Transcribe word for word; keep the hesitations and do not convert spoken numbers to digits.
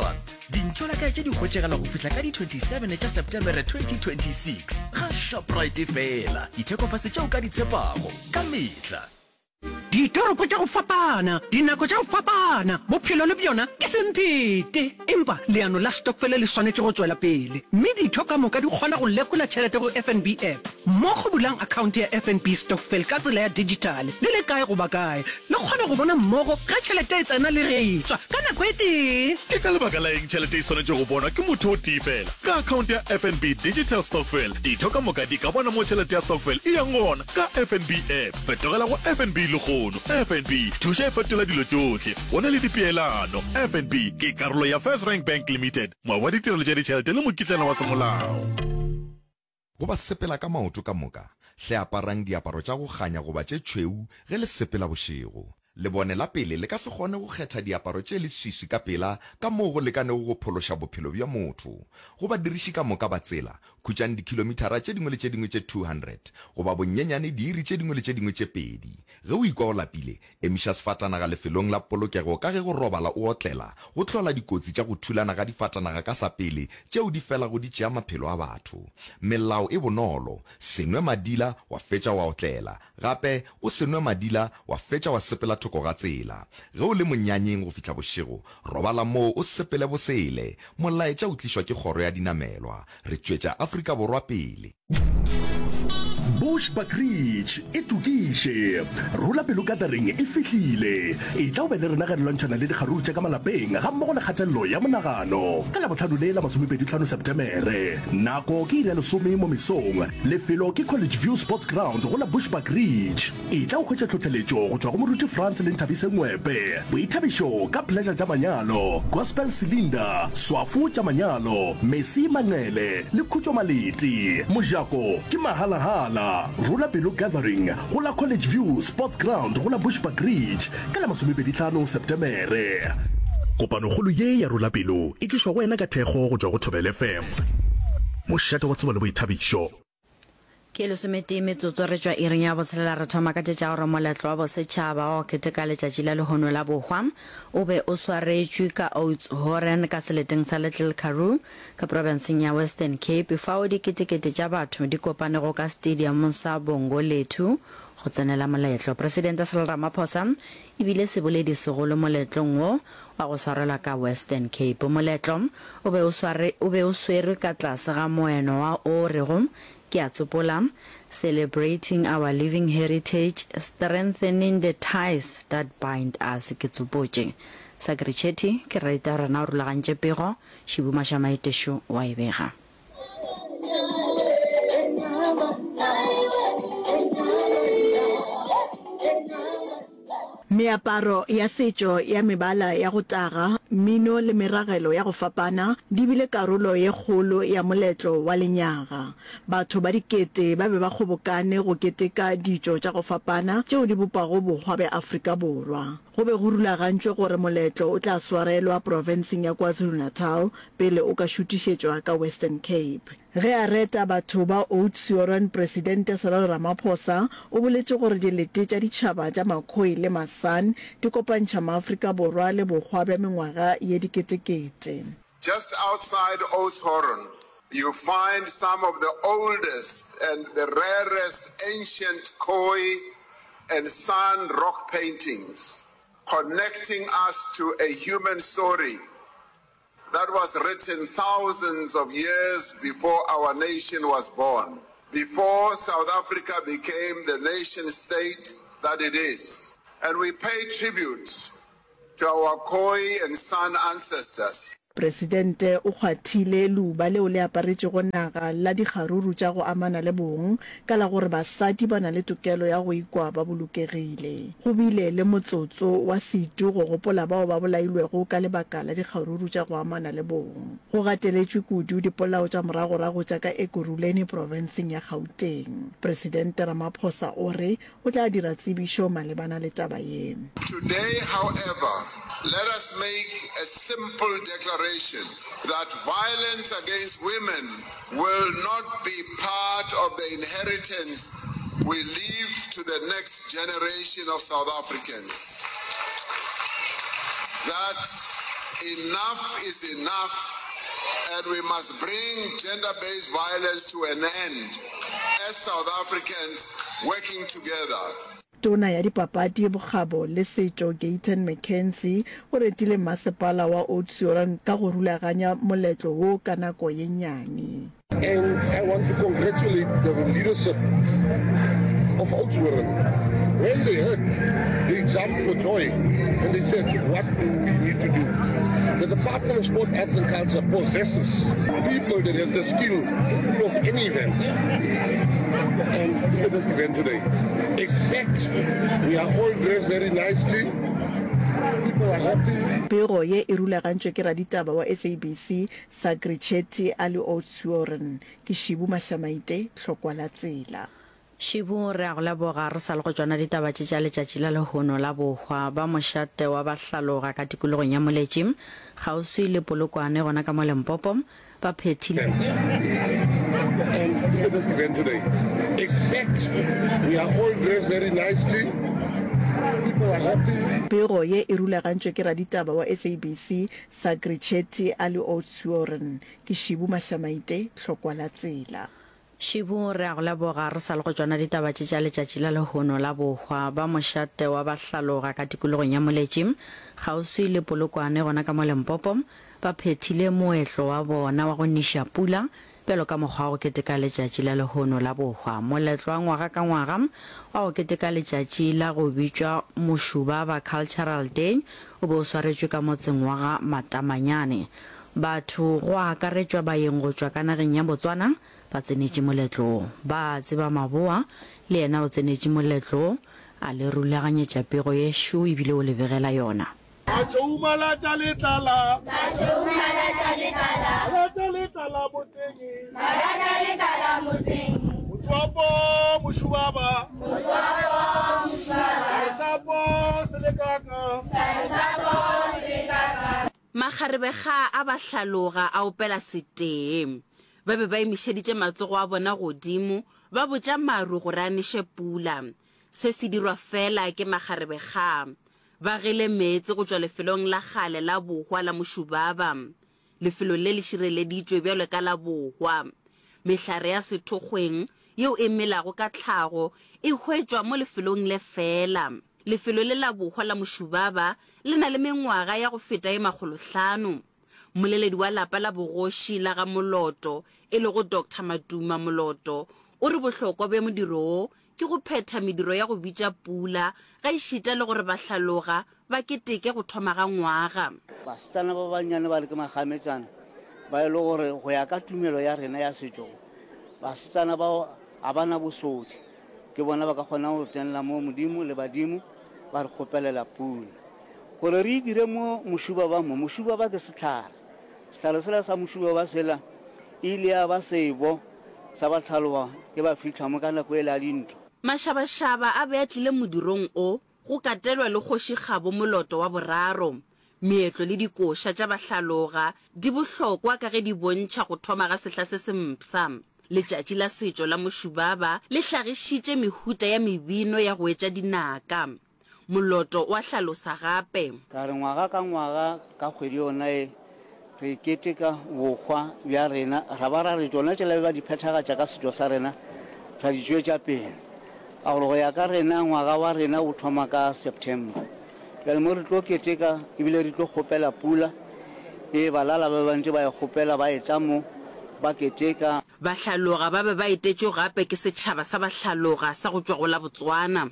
rand Dintšolakae tše di hwetšagala go fihla ka di twenty-seven tša Septemere twenty twenty-six ga Shoprite fela. Dithekofase tšeo ka di tshepago ka mehla. Ditoropo tša go fapana, dinako tša go fapana, bophelo le bjona ke semphete. Empa leano la stokfele le swanetše go tšwela pele, mme ditho ka moka di kgona go lekola tšhelete go F N B app. Mmogo bulang akhaonte ya F N B Stokvel ka tsela ya dijithale le le kae goba kae. Le kgona go bona mmogo ge tšhelete e tsena le ge e tšwa ka nako e tee. Ke ka lebaka la eng tšhelete e swanetše go bonwa ke motho o tee fela? Ka akhaonte ya F N B Digital Stokvel, ditho ka moka di ka bona mo tšhelete ya stokvel e yang gona ka F N B app. Fetogela go F N B lehono. F N B, thuša e fetola dilo tšohle. Go na le dipeelano. F N B ke karolo ya First Rank Bank Limited, moabi wa ditirelo tša ditšhelete le mokitlana wa semolao. Go ba sepela ka maoto ka moka, hle aparang diaparo tša go kganya goba tše tšhweu ge le sepela bošego. Lebone la pele le ka se kgone go kgetha diaparo tše leswiswi ka pela ka moo go lekanego go phološa bophelo bja motho. Go badiriši ka moka ba tsela, khutšang dikhilomithara tše dingwe le tše dingwe tše two hundred goba bonyenyane diiri tše dingwe le tše dingwe tše pedi. Ge o ikwa o lapile, emiša sefatanaga lefelong la polokego ka ge go robala o otlela go hlola dikotsi tša go thulana ga difatanaga ka sa pele tšeo di felago di tšea maphelo a batho. Melao e bonolo, se nwe madila wa fetša wa otlela. Gape, o se nwe madila wa fetša wa sepela thoko ga tsela. Ge o le monyanyeng go fihla bošego, robala moo o sepele bosele. Molaetša o tlišwa ke Kgoro ya Dinamelwa. Re tšwetša Afrika Borwa pele. Bushbuckridge e tokiše. Rola Pelo Gathering e fihlile. Etla o be le rena ge re lwantšhana le dikgaruru tša ka malapeng gammogo le kgatelelo ya monagano. Ka Labohlano le la masomepedi hlano Setemere. Nako ke iri ya lesome mo mesong. Lefelo ke College View Sports Ground go la Bushbuckridge. Etla o hwetše tlhohleletšo go tšwa go Moruti Frans le Nthabise Ngwepe. Boithabišo ka Pleasure tša manyalo, Gospel Cylinder, Swafo tša manyalo, Messi Manqele le Khutšo Maleti. Mojako ke mahalahala. Rola Pelo Gathering go la College View Sports Ground go la Bushbuckridge ka la masomepedi hlano Setemere. Kopanokgolo ye ya Rola Pelo e tlišwa go wena ka thekgo go tšwa go Thobela F M, mošate wa tsebo le boithabišo. Ke lesometee metsotso re tšwa iring ya botshelela re thoma ka tše tša gore moletlo wa bosetšhaba wa go keteka letšatši la lehono la bohwa o be o swaretšwe ka Oudtshoorn ka seleteng sa Little Karoo ka profenseng ya Western Cape fao diketekete tša batho di kopanego ka stadiumong sa Bongolethu go tsenela moletlo. Presidente Cyril Ramaphosa e bile seboledi segolo moletlong wo wa go swarelwa ka Western Cape. Moletlo o be o sware o be o swerwe ka tlase ga moeno wa o rego ke a tsopola, Celebrating our living heritage, strengthening the ties that bind us, ke tsopotše. Sakrichetti ke reta rena o rulagantše pego, Šibu Mašamaetešo wa e bega. Meaparo ya setšo ya mebala ya go taga, mmino le meragelo ya go fapana di bile karolo ye kgolo ya moletlo wa lenyaga. Batho ba dikete ba be ba kgobokane go keteka ditšo tša go fapana tšeo di bopago bohwa bja Afrika Borwa. Go be go rulagantšwe gore moletlo o tla swarelwa profenseng ya KwaZulu-Natal pele o ka šutišetšwa ka Western Cape. Ge a reta batho ba Oudtshoorn, Presidente Cyril Ramaphosa o boletše gore dilete tša ditšhaba tša Makhoi le Masan di kopantšha Maafrika Borwa le bohwa bja mengwaga ye diketekete. Just outside Oudtshoorn, you find some of the oldest and the rarest ancient Khoi and San rock paintings, connecting us to a human story that was written thousands of years before our nation was born, before South Africa became the nation state that it is. And we pay tribute to our Khoi and San ancestors. Presidente o kgwathile leuba leo le aparetšego naga la dikgaruru tša go amana le bong ka la gore basadi ba na le tokelo ya go ikwa ba bolokegile. Go bile le motsotso wa setu go gopola bao ba bolailwego ka lebaka la dikgaruru tša go amana le bong. Go gateletšwe kudu dipolao tša moragorago tša ka Ekurhuleni profenseng ya Gauteng. Presidente Ramaphosa o re o tla dira tsebišo malebana le taba ye. Today, however, let us make a simple declaration that violence against women will not be part of the inheritance we leave to the next generation of South Africans. That Enough is enough and we must bring gender-based violence to an end as South Africans working together. Tona ya Dipapadi, Bokgabo le Setšo Gayton McKenzie o retile Masepala wa Oudtshoorn ka go rulaganya moletlo wo ka nako ye nnyane. And I want to congratulate the leadership of Oudtshoorn. When they heard, they jumped for joy and they said, what do we need to do? The Department of Sport, Arts and Culture possesses people that have the skill to pull off any event. And look at this event today. Expect we are all dressed very nicely. People are happy. Pego ye e rulagantšwe ke raditaba wa SABC Sagri Chetty a le Oudtshoorn. Ke Šibu Mašamaite, Tlhokwa la Tsela. Šibu, Re a go leboga. Re sa le go tšona ditaba tše tša letšatši la lehono la bohwa ba mošate wa Bahlaloga ka tikologong ya Moletši, kgauswi le Polokwane gona ka mo Limpopo, ba phethile. And look at this event today. Expect we are all dressed very nicely. People are happy. Pego ye e rulagantšwe ke raditaba wa SABC Sagri Chetty a le Oudtshoorn. Ke Šibu Mašamaite, Tlhokwa la Tsela. Šibu, Re a go leboga. Re sa le go tšona ditaba tše tša letšatši la lehono la bohwa ba mošate wa Bahlaloga ka tikologong ya Moletši, kgauswi le Polokwane gona ka mo Limpopo, ba phethile moetlo wa bona wa go niša pula bjalo ka mokgwa wa go keteka letšatši la lehono la bohwa. Moletlo wa ngwaga ka ngwaga wa go keteka letšatši la go bitšwa Mošubaba Cultural Day o be o swaretšwe ka motseng wa ga Matamanyane. Batho, go akaretšwa baeng go tšwa ka nageng ya Botswana, ba tsenetše moletlo wo. Ba tseba Maboa le yena o tsenetše moletlo wo, a le rulaganyetša pego ye šo e bile o le begela yona. Ka tšouma la tša letlala. Ka tšouma la tša letlala. La tša letlala motseng. La tša letlala motseng. Motswapo mošubaba. Motswapo mošubaba. Saresapo selekaka. Saresapo selekaka. Makgarebe ga a ba hlaloga a opela setee. Ba be ba emišeditše matsogo a bona godimo, ba botša maru gore a neše pula. Se se dirwa feela ke makgarebe ga. Ba gele meetse go tšwa lefelong la kgale la bohwa la Mošubaba. Lefelo le le šireleditšwe bjalo ka la bohwa. Mehlare ya sethokgweng yeo e melago ka tlhago e hwetšwa mo lefelong le feela. Lefelo le la bohwa la Mošubaba le na le mengwaga ya go feta ye makgolohlano. Mmoleledi wa lapa la bogoši la ga Moloto, e lego Doctor Matuma Moloto, o re bohlokwa bja modiro wo ke go phetha mediro ya go bitša pula, gaešita le gore bahlaloga ba keteke go thoma ga ngwaga. Basetsana ba bannyane ba le ke magametšana ba e le gore go ya ka tumelo ya rena ya setšo, basetsana bao ga ba na bosodi, ke bona ba ka kgonang go tsenela mo Modimo le badimo ba re kgopelela pula. Gore re e dire mo mošubaba mo, mošubaba ke sehlare. Sehlare sela sa mošubaba sela e ile ya ba sebo sa bahlaloga ge ba fihla mo ka nako yela ya dintwa. Mašabašaba a be a tlile modirong o, go katelwa le Kgoši Kgabo Moloto wa boraro. Meetlo le dikoša tša bahlaloga di bohlokwa ka ge di bontšha go thoma ga sehla se se mpsha. Letšatši la setšo la Mošubaba le hlagišitše mehuta ya mebino ya go etša dinaka. Moloto o a hlalosa gape. Ka re ngwaga ka ngwaga ka kgwedi yona ye re keteka bohwa bja rena, ra ba ra re tšona tšela be ba di phethagatša ka setšo sa rena ra di tšwetša pele. Ka gore go ya ka rena ngwaga wa rena o thoma ka September. Bjale mo re tlo keteka ebile re tlo kgopela pula e balala ba be ba ntše ba e kgopela ba etla mo ba keteka. Bahlaloga ba be ba etetšwe gape ke setšhaba sa Bahlaloga sa go tšwa go la Botswana.